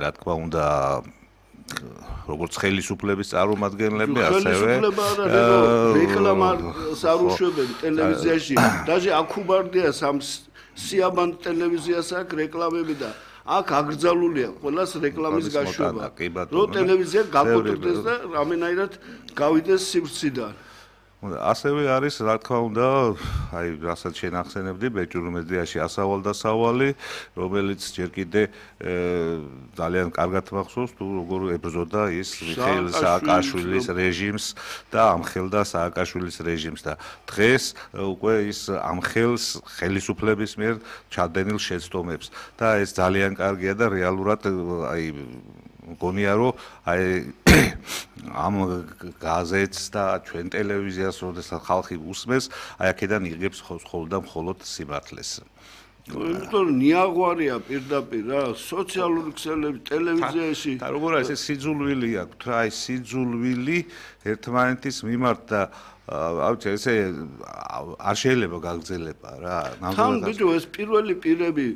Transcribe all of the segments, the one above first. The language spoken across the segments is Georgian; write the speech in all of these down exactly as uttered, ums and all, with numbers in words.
რა თქმა უნდა როგორც ხელისუფლების წარმომადგენლები ასევე ხელისუფლება არა რეკლამას არ უშვებენ ტელევიზიაში даже აქუბარდია სამ სიაბან ტელევიზიას აქვს რეკლამები და აქ აკრძალულია ყველას რეკლამის გაშვება რომ ტელევიზია გაკოტრდეს და რამენაირად გავიდეს სივრციდან ასევე არის რა თქმა უნდა აი რასაც შენ ახსენებდი ბეჭდურ მედიაში ასავალ და სავალი რომელიც ჯერ კიდე ძალიან კარგად მახსოვს თუ როგორ ებრძოდა ის მიხეილ სააკაშვილის რეჟიმს და ამხელდა სააკაშვილის რეჟიმს და დღეს უკვე ის ამხელს ხელისუფლების მიერ ჩადენილ შეცდომებს და ეს ძალიან კარგია და რეალურად აი მგონია რომ აი ამ გაზეთს და ჩვენ ტელევიზიას როდესაც ხალხი უსმენს აი აქედან იღებს ხოლმე და მხოლოდ სიმართლეს იმიტომ რომ ნიაღვარია პირდაპირ რა სოციალური ქსელები ტელევიზიაში და როგორ არის ეს სიძულვილი აქვს რა აი სიძულვილი ერთმანეთის მიმართ და აუჩე ესე არ შეიძლება გაგრძელება რა ნამდვილად თან ბიჭო ეს პირველი პირები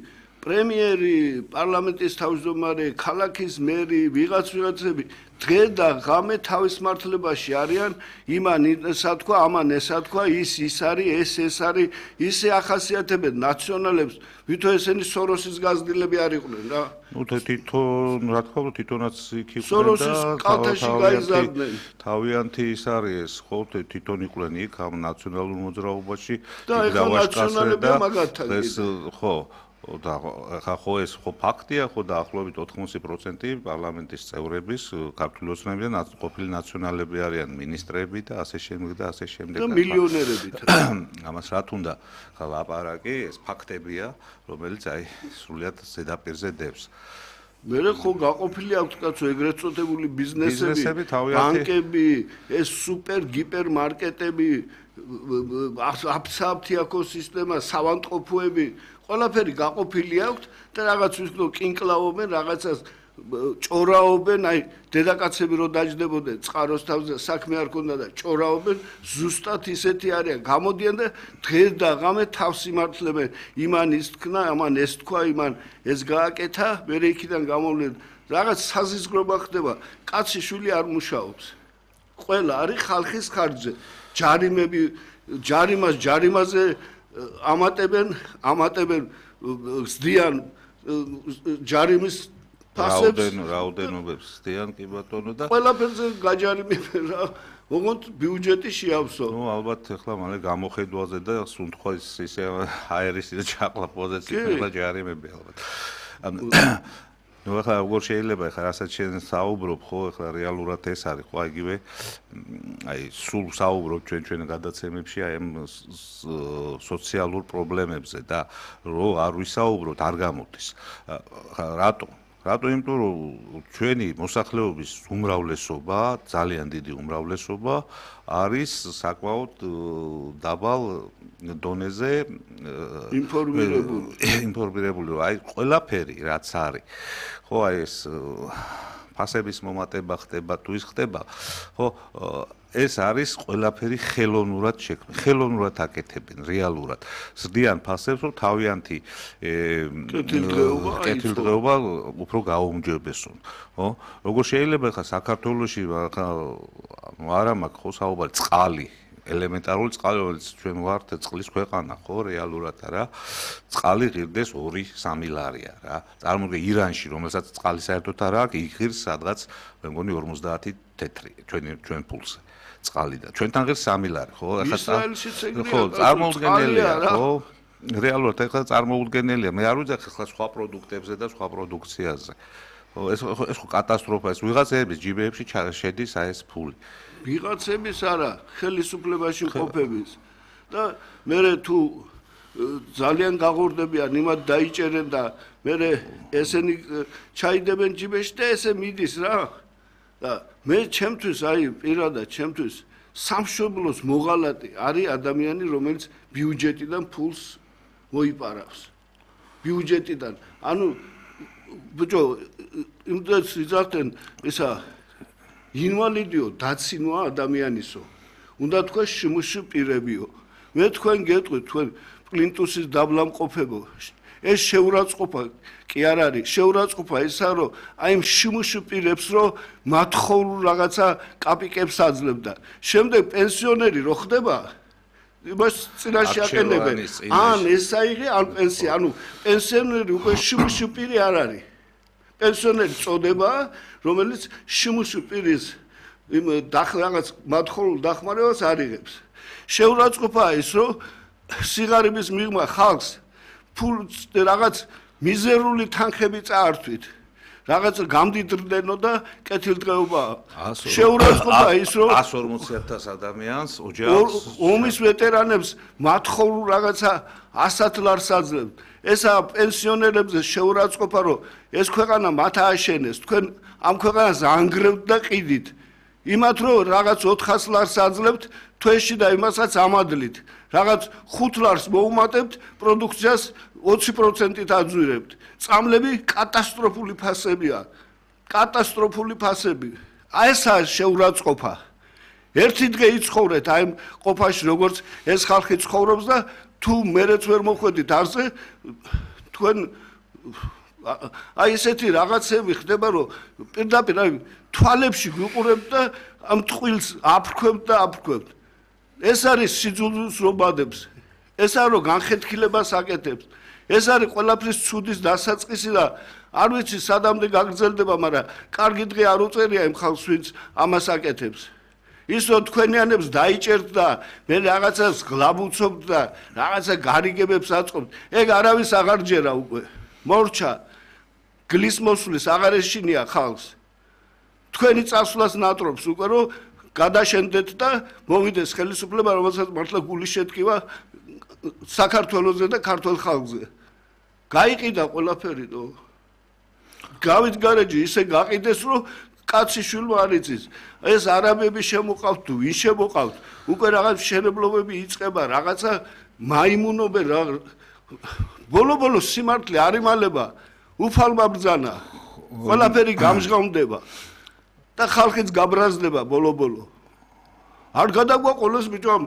პრემიერი პარლამენტის თავმჯდომარე ქალაქის მერი ვიღაც ვიღაცები დღე და ღამე თავის მართლებაში არიან იმან ესა თქვა ამან ესა თქვა ის ის არის ეს ეს არის ისე ახასიათებენ ნაციონალებს ვითო ესენი სოროსის გაზრდილები არ იყვნენ რა ნუ თვითონ რა თქმა უნდა თვითონაც იქ იყვნენ სოროსის კალთაში გაიზარდნენ თავიანთი ის არის ეს ხო თვითონ იყვნენ იქ ამ ნაციონალურ მოძრაობაში და ეხლა ნაციონალებია მაგათთან ეს ხო და ხა ხო ეს ხო ფაქტია ხო დაახლოებით ოთხმოცი პროცენტი პარლამენტის წევრების ქართული ოცნებიდან ყოფილი ნაციონალები არიან მინისტრები და ასე შემდეგ და ასე შემდეგ და მილიონერებით ამას რა თუნდა ხა ლაპარაკი ეს ფაქტებია რომელიც აი სრულიად ზედაპირზე დევს მერე ხო გაყოფილი აქვს კაცო ეგრეთ წოდებული ბიზნესები ბანკები ეს სუპერ გიპერ მარკეტები აფსაფთი ეკოსისტემა სავანტყოფოები ყველაფერი გაყოფილი აქვს და რაღაც ვისკნო კინკლაობენ რაღაცას ჭორაობენ აი დედაკაცები რო დაждდებოდნენ წყაროს თავზე საქმე არ ქონდა და ჭორაობენ ზუსტად ისეთი არიან გამოდიან და დღეს და ღამე თავს იმართლებენ იმან ის თქვა ამან ეს თქვა იმან ეს გააკეთა მერე იქიდან გამოვლენ რაღაც საზიზგრობა ხდება კაცი შვილი არ მუშაობს ყველა არის ხალხის ხარჯზე ჯარიმები ჯარიმას ჯარიმაზე ამატებენ ამატებენ ზდიან ჯარიმის ფასებს რაოდენობებს ზდიან კი ბატონო და ყველაფერზე გაჯარიმებენ რა ოღონდ ბიუჯეტი შეავსო ნუ ალბათ ახლა მალე გამოხედვაზე და სუნთქვის ისე აერის და ჩაყლა პოზიციები და ჯარიმები ალბათ ნუ ახლა როგორ შეიძლება ახლა რასაც შენ საუბრობ ხო ახლა რეალურად ეს არის ხო იგივე აი სულ საუბრობ ჩვენ ჩვენ გადაცემებში აი ამ სოციალურ პრობლემებზე და რო არ ვისაუბროთ არ გამოდის რატო რატო იმიტომ რომ ჩვენი მოსახლეობის უმრავლესობა ძალიან დიდი უმრავლესობა არის საკმაოდ დაბალ დონეზე ინფორმირებული ინფორმირებული აი ყველაფერი რაც არის ხო აი ეს ფასების მომატება ხდება თუ ის ხდება ხო ეს არის ყველაფერი ხელოვნურად შექმნილი ხელოვნურად აკეთებენ რეალურად ზრდიან ფასებს რომ თავიანთი კეთილდღეობა უფრო გაუმჯობესონ ხო როგორ შეიძლება ხა საქართველოში ხა არა მაქვს ხო საუბარი წყალი ელემენტარული წყალი რომელიც ჩვენ ვართ წყლის ქვეყანა ხო რეალურად რა წყალი ღირდეს ორი სამი ლარია რა წარმოიდგინე ირანში რომელსაც წყალი საერთოდ არ აქვს იღირს სადღაც მე მგონი ორმოცდაათი თეთრი ჩვენ ჩვენ ფულზე წყალი და ჩვენთან ღირს სამი ლარი ხო ახლა ხო წარმოუდგენელია ხო რეალურად ახლა წარმოუდგენელია მე არ ვიძახ ახლა სხვა პროდუქტებზე და სხვა პროდუქციაზე ხო ეს ეს ხო კატასტროფა ეს ვიღაცების ჯიბეებში შედის აი ეს ფული ვიღაცების არა ხელისუფლებაში მყოფების და მე თუ ძალიან გაღორდებიან იმათ დაიჭერენ და მე ესენი ჩაიდებენ ჯიბეში და ესე მიდის რა და მე ჩემთვის აი პირადად ჩემთვის სამშობლოს მოღალატე არის ადამიანი რომელიც ბიუჯეტიდან ფულს მოიპარავს ბიუჯეტიდან ანუ ბიჭო იმდენს იზახტენ ისა ინვალიდიო დაცინვა ადამიანისო უნდა თქვა შემოშ პირებიო მე თქვენ გეტყვით თქვენ პლინტუსის დაბლამყოფებო ეს შეურაცხყოფა კი არ არის, შეურაცხყოფა ისა, რომ აი იმ შიმუშ პირებს რომ მათხოვრულ რაღაცა კაპიკებს აძლევდა. შემდეგ პენსიონერი რო ხდება, იმას წინაშე აყენებენ. ან ესაიღე, ან პენსია, ანუ პენსიონერი უკვე შიმუშ პირი არ არის. პენსიონერი წოდება, რომელიც შიმუშ პირის იმ რაღაც მათხოვრულ დახმარებას არიღებს. შეურაცხყოფაა ის, რომ სიღარიბის მიღმა ხალხს ფულს რაღაც მიზერული თანხები წაართვით. რაღაც გამდიდრდნენო და კეთილდღეობაა. შეურაცხყოფაა ის, რომ εκατს ორმოცი ათას ადამიანს ოჯახს ომის ვეტერანებს მათხოვრულ რაღაცა ასად ლარს აძლევთ. ესა პენსიონერებზე შეურაცხყოფა, რომ ეს ქვეყანა მათ ააშენეს, თქვენ ამ ქვეყანას ანგრევთ და ყიდით. იმათ რომ რაღაც ოთხას ლარს აძლევთ თვეში და იმასაც ამადლით. რაღაც ხუთ ლარს მოუმატებთ, პროდუქციას ოცი პროცენტით აძვირებთ. წამლები კატასტროფული ფასებია. კატასტროფული ფასები. აი ესაა შეურაცხყოფა. ერთი დღე იცხოვრეთ აი ყოფაში, როგორც ეს ხალხი ცხოვრობს და თუ მერეც ვერ მოხვედით არზე, თქვენ აი ესეთი რაღაცები ხდება, რომ პირდაპირ აი თვალებში გვიყურებთ და ამ ტყილს აფრქვებთ და აფრქვებთ. ეს არის სიძულვილს რომადებს. ეს არის რომ განხეთქილებას აკეთებს. ეს არის ყველაფრის ცუდის დასაწყისი და არ ვიცი სადამდე გაგრძელდება, მაგრამ კარგი დღე არ უწერია იმ ხალხს, ვინც ამას აკეთებს. ის რომ თქვენიანებს დაიჭერთ და მე რაღაცას გლაბუცობთ და რაღაცა გარიგებებს აწყობთ, ეგ არავის აღარ ჯერა უკვე. მორჩა გლის მოსulis აღარ ეშინია ხალხს. თქვენი წასვლას ნატრობს უკვე რომ გადაშენდეთ და მოვიდეს ხელისუფლება, რომელსაც მართლა გული შეტკივა საქართველოზე და ქართულ ხალხზე. გაიყიდა ყველაფერი და გავით გარეჯი ისე გაყიდეს, რომ კაცი შვილმა არ იცის. ეს არაბები შემოყავთ თუ ის შემოყავთ, უკვე რაღაც შენებლობები იწყება, რაღაცა მაიმუნობენ რა. ბოლო-ბოლო სიმართლე არ იმალება, უფალმა ბრძანა. ყველაფერი გამჟღავნდება. და ხალხიც გაბრაზდება ბოლო-ბოლო. არ გადაგვაყოლოს ბიჭო,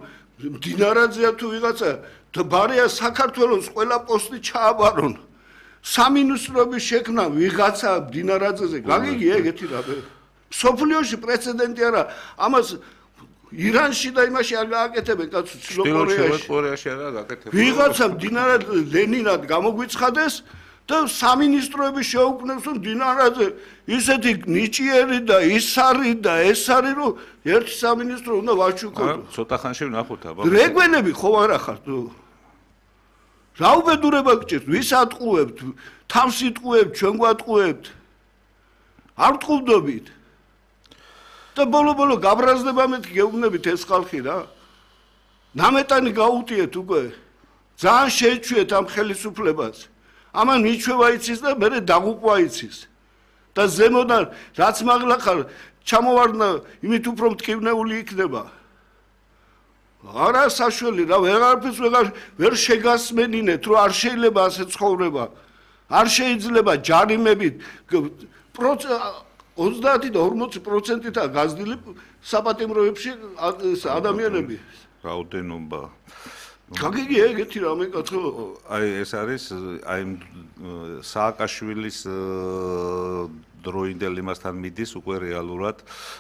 დინარაძეა თუ ვიღაცა, ბარია საქართველოს ყველა პოსტი ჩააბარონ. სამინისტროების შექმნა ვიღაცა დინარაძეზე, გაგიგი ეგეთი რა. სოფლიოში პრეცედენტი არა, ამას ირანში და იმაში არ გააკეთებენ კაცო, ჩრდილოეთ-კორეაში არა გააკეთებენ. ვიღაცა დინარაძე ლენინად გამოგვიცხადეს და სამინისტროები შეუქმნეს, რომ დინარაძე ისეთი ნიჭიერი და ის არის და ეს არის, რომ ერთი სამინისტრო უნდა ვაჩუქოთ. ცოტა ხანში ვნახოთ აბა. რეგვენები ხო არა ხართ? რა უბედურება გჭირთ? ვის ატყუებთ? თავს იტყუებთ, ჩვენ გვატყუებთ. არ ტყუვდობით. და ბოლო-ბოლო გაბრაზდება მეთქი გეუბნებით ეს ხალხი რა. ნამეტანი გაუტიეთ უკვე. ძალიან შეეჩვიეთ ამ ხელისუფლებას. ამან მიჩვევა იცის და მერე დაღუპვა იცის. და ზემოდან რაც მაღლა ხარ ჩამოვარდნა, იმით უფრო მტკივნეული იქნება. არა საშველი რა, ვეღარაფერს ვეღარ ვერ შეგასმენინეთ, რომ არ შეიძლება ასე ცხოვრება. არ შეიძლება ჯარიმებით ოცდაათი და ორმოცი პროცენტითაა გაზრდილი საპატიმროებში ადამიანები. რაოდენობა. გაგიგი ეგეთი რამე კაცო. აი ეს არის აი სააკაშვილის დროინდელ იმასთან მიდის უკვე რეალურად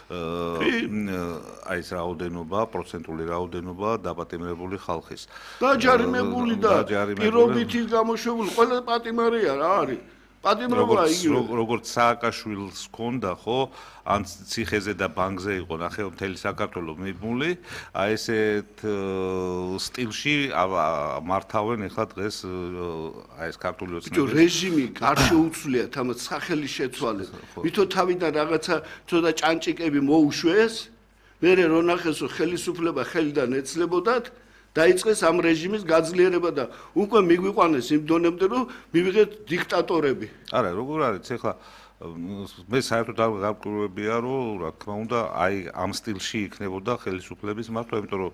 აი ეს რაოდენობა, პროცენტული რაოდენობა დაპატიმრებული ხალხის. დაჯარიმებული და პირობითი გამოშვებული ყველა პატიმარია რა არის. პატიმრობა იგივე. როგორც სააკაშვილს ჰქონდა, ხო, ან ციხეზე და ბანკზე იყო ნახე მთელი საქართველო მიბმული, აი ესეთ სტილში მართავენ ახლა დღეს აი ეს ქართული ოცნებები. რეჟიმი არ შეუცვლია თამაც სახელი შეცვალეს. ვითო თავიდან რაღაცა ცოტა ჭანჭიკები მოუშვეს, მერე რო ნახეს რომ ხელისუფლება ხელიდან ეცლებოდათ, დაიწყეს ამ რეჟიმის გაძლიერება და უკვე მიგვიყვანეს იმ დონემდე რომ მივიღეთ დიქტატორები. არა, როგორ არის ახლა მე საერთოდ არ გავკურებია რომ რა თქმა უნდა აი ამ სტილში იქნებოდა ხელისუფლების მართვა, იმიტომ რომ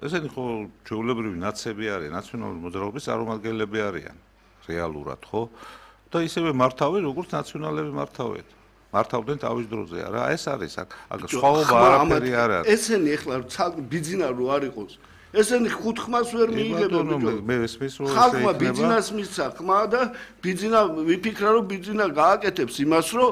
ესენი ხო ჩვეულებრივი ნაცები არიან, ნაციონალური მოძრაობის წარმომადგენლები არიან რეალურად, ხო? და ისევე მართავენ როგორც ნაციონალები მართავენ. მართავდნენ თავის დროზე, არა, ეს არის აქ. აქ სხვაობა არაფერი არ არის. ესენი ახლა ბიძინა რო არ იყოს ესენი ხუთ ხმას ვერ მიიღებენ ბიჭო. მე ესმის რომ ხალხმა ბიძინას მისცა ხმა და ბიძინა ვიფიქრა რომ ბიძინა გააკეთებს იმას რომ